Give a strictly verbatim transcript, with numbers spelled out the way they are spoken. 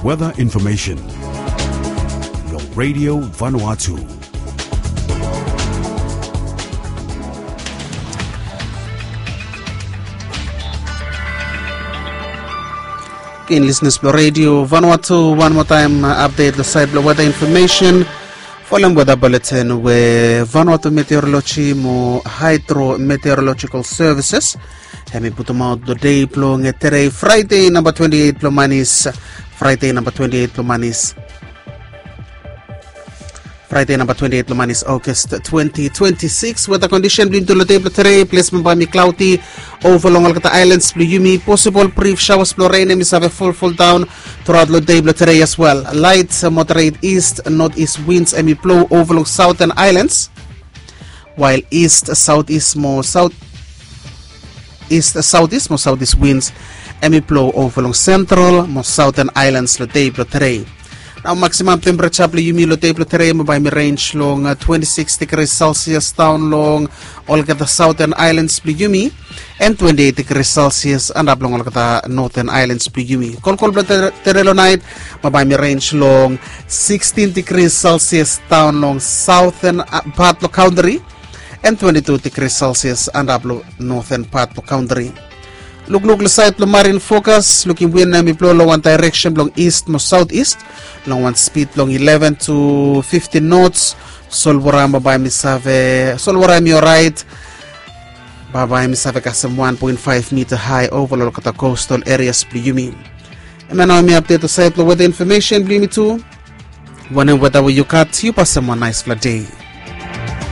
Weather information. Long Radio Vanuatu. Ken listeners blong Radio Vanuatu, wan moa taem update long sait blong weather information. Folem weather bulletin we Vanuatu Meteorology mo Hydrometeorological Services hem i putumaot long dei blong tedei, Fraide namba twenti eit blong manis. Fraide namba twenti eit blong manis. Fraide namba twenti eit blong manis, August twenti twenti sikis. Weather kondisen blong yumi tu long dei blong tedei, ples bambae hem i klaoti, ova long olgeta aelans blong yumi. Posibol brif saoas blong ren hem i save folfol daon truaot long dei blong tedei as wel. Lait moderet ist notet ist winds hem i blou ova long saoten aelans, wael ist saotet ist mo saot ist saotet ist mo saotet ist winds hem i blou ova long sentral mo saoten aelans long dei blong tedei. Nao maksimam tempereja blong yumi long dei blong tedei bambae hem i renj long twenti sikis digri selsias daon long olgeta saoten aelans blong yumi, en twenti eit digri selsias antap long olgeta noten aelans blong yumi. Kolkol blong tedei long naet bambae hem i renj long sikstin digri selsias daon long saoten pat blong kantri, en twenti tu digri selsias antap long noten pat blong kantri. Lukluk long sait blong marin fokas, lukim win hem i blou long wan daereksen blong ist mo saotet ist long wan spid blong eleven tu fiftin nots. Solwora bambae hem i save, solwora hem i oraet. Bambae hem i save kasem wan poen faef mita hae ova long olgeta kostal erias blong yumi. Hemia nao hem i apdet long sait blong weather information blong yumi tu. Wanem weather we yu gat, yu pasem wan naesfala dei.